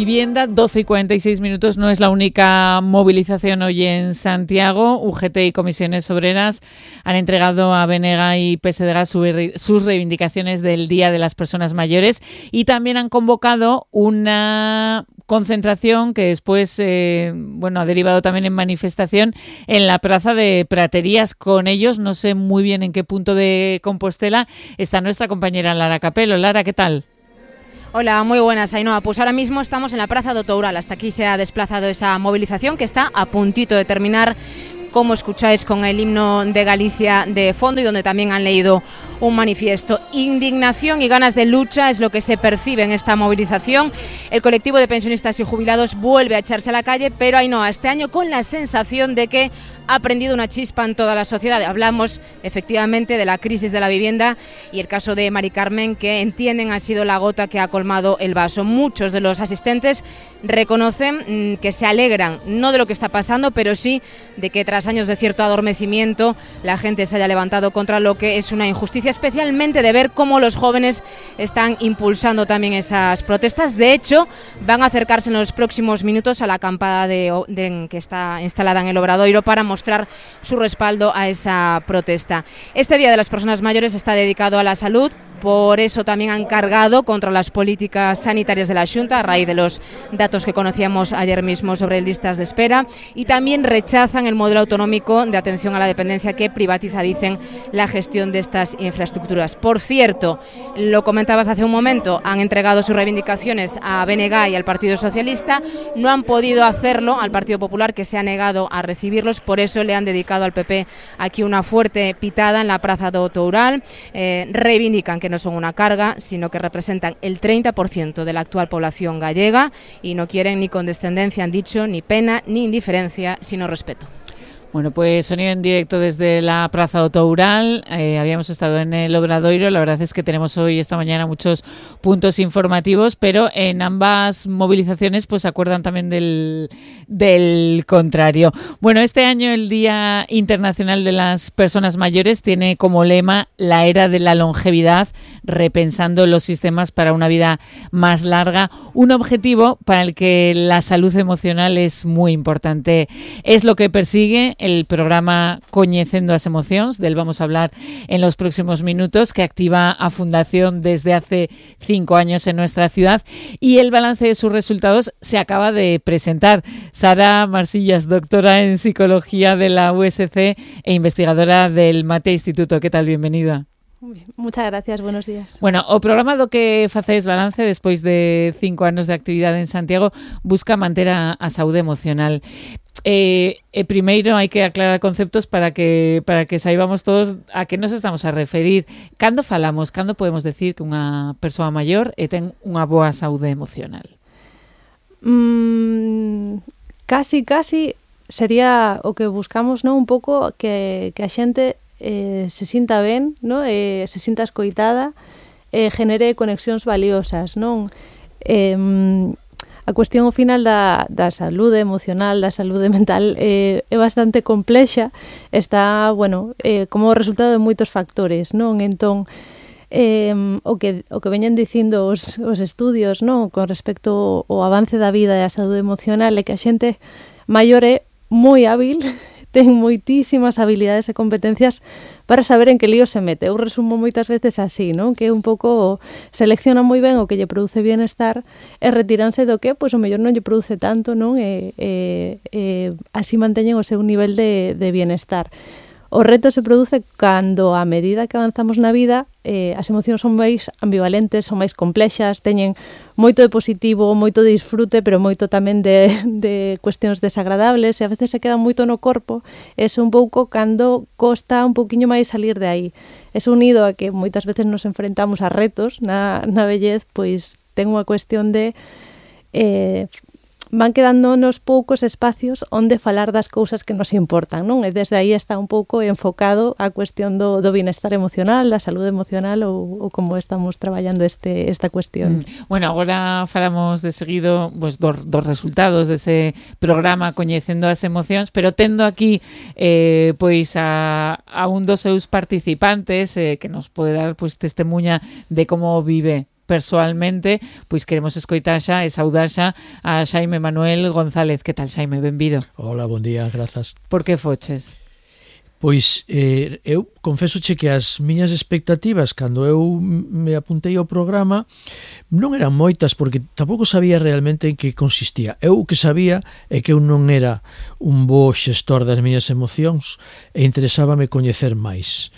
Vivienda, 12:46 no es la única movilización hoy en Santiago. UGT y Comisiones Obreras han entregado a BNG y PSDG sus reivindicaciones del Día de las Personas Mayores y también han convocado una concentración que después ha derivado también en manifestación en la Plaza de Praterías. Con ellos, no sé muy bien en qué punto de Compostela está nuestra compañera Lara Capelo. Lara, ¿qué tal? Hola, muy buenas, Ainhoa. Pues ahora mismo estamos en la Praza do Toural. Hasta aquí se ha desplazado esa movilización que está a puntito de terminar, como escucháis, con el himno de Galicia de fondo y donde también han leído un manifiesto. Indignación y ganas de lucha es lo que se percibe en esta movilización. El colectivo de pensionistas y jubilados vuelve a echarse a la calle, pero Ainhoa, este año con la sensación de que ha prendido una chispa en toda la sociedad. Hablamos efectivamente de la crisis de la vivienda y el caso de Mari Carmen, que entienden ha sido la gota que ha colmado el vaso. Muchos de los asistentes reconocen que se alegran, no de lo que está pasando, pero sí de que tras años de cierto adormecimiento la gente se haya levantado contra lo que es una injusticia, especialmente de ver cómo los jóvenes están impulsando también esas protestas. De hecho, van a acercarse en los próximos minutos a la acampada que está instalada en el Obradoiro para mostrar su respaldo a esa protesta. Este Día de las Personas Mayores está dedicado a la salud. Por eso también han cargado contra las políticas sanitarias de la Xunta a raíz de los datos que conocíamos ayer mismo sobre listas de espera, y también rechazan el modelo autonómico de atención a la dependencia que privatiza, dicen, la gestión de estas infraestructuras. Por cierto, lo comentabas hace un momento, han entregado sus reivindicaciones a BNG y al Partido Socialista, no han podido hacerlo al Partido Popular, que se ha negado a recibirlos. Por eso le han dedicado al PP aquí una fuerte pitada en la Praza do Toural. Reivindican que no son una carga, sino que representan el 30% de la actual población gallega y no quieren ni condescendencia, han dicho, ni pena, ni indiferencia, sino respeto. Bueno, pues sonido en directo desde la Praza do Toural. Habíamos estado en el Obradoiro. La verdad es que tenemos hoy, esta mañana, muchos puntos informativos, pero en ambas movilizaciones pues se acuerdan también del contrario. Bueno, este año el Día Internacional de las Personas Mayores tiene como lema la era de la longevidad, repensando los sistemas para una vida más larga. Un objetivo para el que la salud emocional es muy importante. Es lo que persigue el programa Coñecendo as Emocións, del vamos a hablar en los próximos minutos, que activa a Fundación desde hace 5 años en nuestra ciudad, y el balance de sus resultados se acaba de presentar. Sara Marsillas, doctora en Psicología de la USC e investigadora del Mate Instituto. ¿Qué tal? Bienvenida. Muchas gracias, buenos días. Bueno, o programa do que facedes balance despois de 5 anos de actividade en Santiago busca manter a saúde emocional. Primeiro hai que aclarar conceptos para que saibamos todos a que nos estamos a referir. Cando podemos decir que unha persoa maior ten unha boa saúde emocional? Casi sería o que buscamos, non? Un pouco que a xente se sinta ben, non? Se sinta escoitada, genere conexións valiosas, non? A cuestión ao final da saúde emocional, da saúde mental é bastante complexa, está, como resultado de moitos factores, non? Entón, o que veñen dicindo os estudios, non? Con respecto ao avance da vida e a saúde emocional é que a xente maior é moi hábil, ten moitísimas habilidades e competencias para saber en que lío se mete. Eu resumo moitas veces así, non? Que un pouco selecciona moi ben o que lle produce bienestar e retiranse do que, pois, o mellor non lle produce tanto, non? Así manteñen o seu nivel de bienestar. O reto se produce cando, a medida que avanzamos na vida, as emocións son máis ambivalentes, son máis complexas, teñen moito de positivo, moito de disfrute, pero moito tamén de cuestións desagradables, e a veces se queda moito no corpo. É un pouco cando costa un pouquiño máis salir de aí. É unido a que moitas veces nos enfrentamos a retos na vellez, pois ten unha cuestión de van quedándonos poucos espacios onde falar das cousas que nos importan, non? E desde aí está un pouco enfocado a cuestión do bienestar emocional, da saúde emocional ou como estamos traballando esta cuestión. Bueno, agora falamos de seguido dos resultados dese programa Coñecendo as Emocións, pero tendo aquí pois a un dos seus participantes que nos pode dar pois testemuña de como vive persoalmente, pois queremos escoitar xa e saudar xa a Xaime Manuel González. Que tal, Xaime? Benvido. Hola, bon día, grazas. Por que foches? Pois eu confésoche que as miñas expectativas cando eu me apuntei ao programa non eran moitas, porque tampouco sabía realmente en que consistía. Eu o que sabía é que eu non era un bo xestor das miñas emocións e interesábame coñecer máis.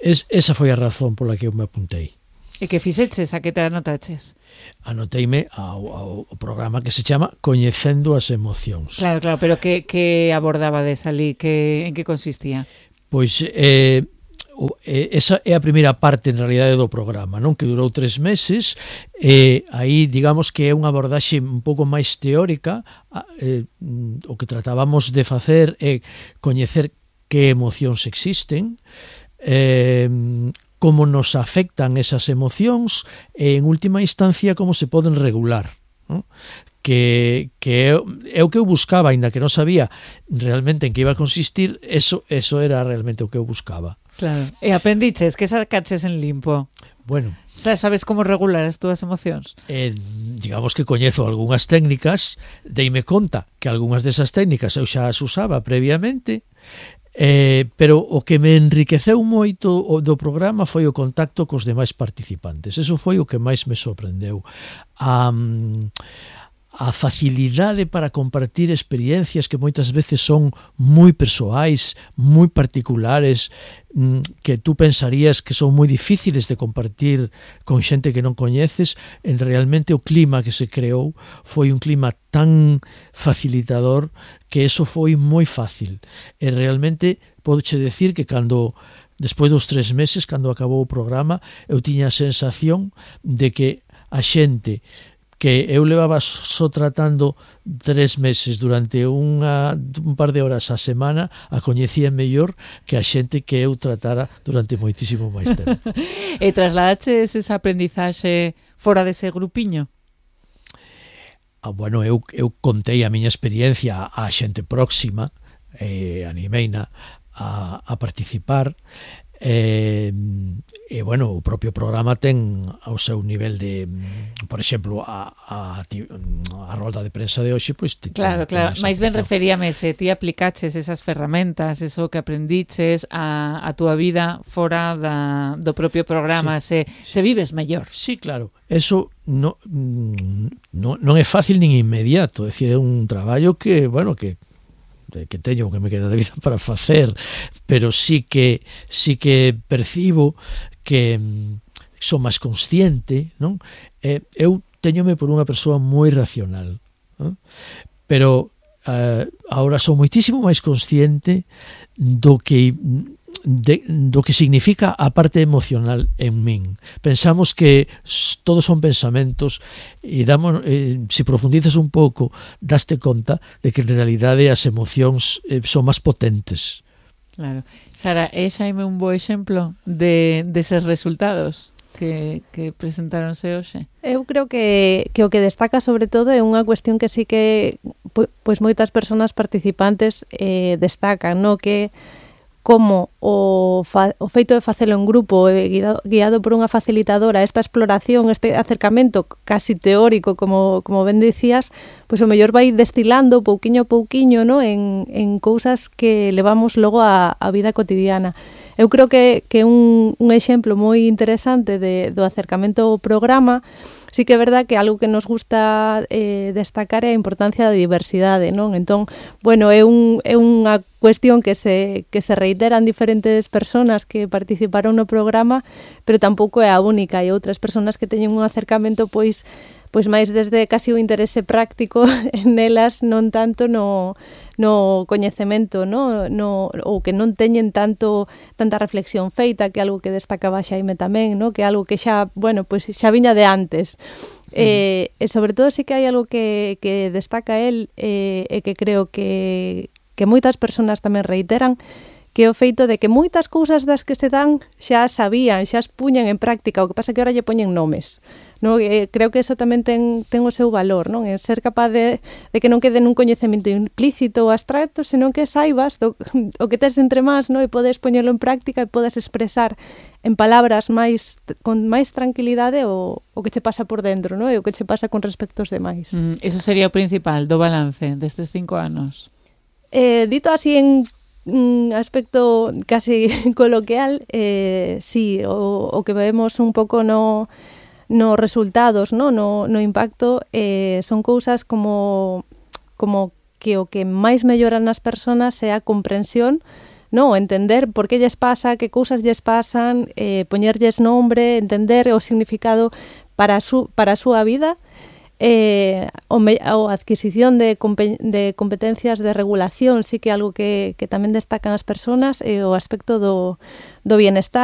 Esa foi a razón pola que eu me apuntei. E que fixeches? A que te anotaches? Anoteime ao programa que se chama Coñecendo as Emocións. Claro, pero que abordabades ali? En que consistía? Pois esa é a primeira parte en realidade do programa, non, que durou 3 meses, e aí digamos que é unha abordaxe un pouco máis teórica. O que tratábamos de facer é coñecer que emocións existen, como nos afectan esas emocións e, en última instancia, como se poden regular, ¿no? Que é o que eu buscaba, aínda que non sabía realmente en que iba a consistir, eso era realmente o que eu buscaba. Claro. E aprendiches, que sacaches en limpo? Bueno, sabes como regular as túas emocións? Digamos que coñezo algunhas técnicas, deime conta que algunhas desas técnicas eu xa as usaba previamente, pero o que me enriqueceu moito do programa foi o contacto cos demais participantes. Eso foi o que máis me sorprendeu. A facilidade para compartir experiencias que moitas veces son moi persoais, moi particulares, que tú pensarías que son moi difíciles de compartir con xente que non coñeces. En realmente o clima que se creou foi un clima tan facilitador que eso foi moi fácil. E realmente podoche decir que despois dos 3 meses, cando acabou o programa, eu tiña a sensación de que a xente que eu levaba só tratando 3 meses durante un par de horas a semana, a coñecía mellor que a xente que eu tratara durante moitísimo máis tempo. E trasladaches esa aprendizaxe fora dese grupiño? Bueno, eu contei a miña experiencia á xente próxima, animeina a participar, e bueno, o propio programa ten ao seu nivel de, por exemplo, a rolda de prensa de hoxe, pois claro, máis ben referíame se ti aplicaches esas ferramentas, eso que aprendiches a túa vida fora do propio programa, sí. se vives mellor. Sí, claro, eso non é fácil nin inmediato, é dicir, é un traballo que, bueno, que teño, que me queda de vida para facer, pero sí que percibo que son máis consciente, non? Eu teñome por unha persoa moi racional, non? Pero agora son moitísimo máis consciente do que significa a parte emocional en min. Pensamos que todos son pensamentos e se profundizas un pouco, daste conta de que en realidade as emocións son máis potentes. Claro. Sara, é Xaime un bo exemplo deses resultados que presentaronse hoxe? Eu creo que o que destaca sobre todo é unha cuestión que sí que pois moitas persoas participantes destacan, no? Que como o feito de facelo en grupo guiado por unha facilitadora, esta exploración, este acercamento casi teórico, como ben dicías, pois o mellor vai destilando pouquiño a pouquiño, no? en cousas que levamos logo a vida cotidiana. Eu creo que un exemplo moi interesante do acercamento ao programa. Sí que é verdad que algo que nos gusta destacar é a importancia da diversidade, non? Entón, bueno, é unha cuestión que se reitera en diferentes persoas que participaron no programa, pero tampouco é a única. Hai outras persoas que teñen un acercamento pois máis desde casi o interese práctico nelas, non tanto no coñecemento, ou que non teñen tanta reflexión feita, que é algo que destacaba Xaime tamén, que é algo que xa viña de antes. E sobre todo sí que hai algo que destaca el e que creo que moitas persoas tamén reiteran, que é o feito de que moitas cousas das que se dan xa sabían, xa as puñan en práctica, o que pasa que ahora lle poñen nomes. No? Creo que eso tamén ten o seu valor, non? É ser capaz de que non quede nun coñecemento implícito ou abstracto, senón que saibas o que tes entre más, no? E podes poñerlo en práctica e podes expresar en palabras con máis tranquilidade o que che pasa por dentro, no? E o que che pasa con respecto aos demais. Eso sería o principal do balance destes 5 anos. Dito así en aspecto casi coloquial, sí, o que vemos un pouco no resultados, no impacto, son cousas como que o que máis melloran nas persoas é a comprensión, no, entender por que lles pasa, que cousas lles pasan, poñerlles nombre, entender o significado para a súa vida, ou adquisición de competencias de regulación, sí que é algo que tamén destacan as persoas, o aspecto do bienestar,